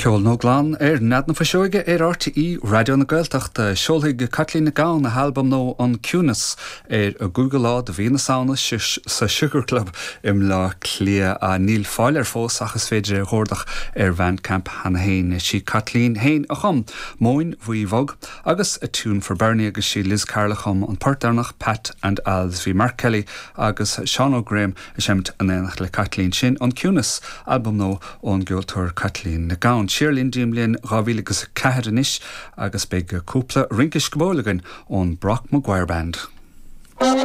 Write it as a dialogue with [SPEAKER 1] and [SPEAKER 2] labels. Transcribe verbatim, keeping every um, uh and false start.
[SPEAKER 1] Ceol nua glan ar Nead na Fuiseoige ar RTÉ Raidió na Gaeltachta seolfaidh Caitlín Nic Gabhann a halbam nua An Ciúnas ar an gcúigiú lá de mhí na Samhna sa Sugar Club i mBleá Cliath níl fáil air fós ach is féidir é a chuardach ar Bandcamp cheana féin sí Caitlín féin a chum Móin Bhuí Bhog agus a Tune for Bernie agus sí Liz Carroll a chum an port deireanach Pat and Al's bhí Mark Kelly agus Seán Óg Graham ag seinm in éineacht le Caitlín sin An Ciúnas albam nua ón gceoltóir Caitlín Nic Gabhann. Siar linn dtí'n mbliain dhá mhíle agus ceathair anois agus beidh cúpla rince sciobóil againn ón Brock Maguire Band.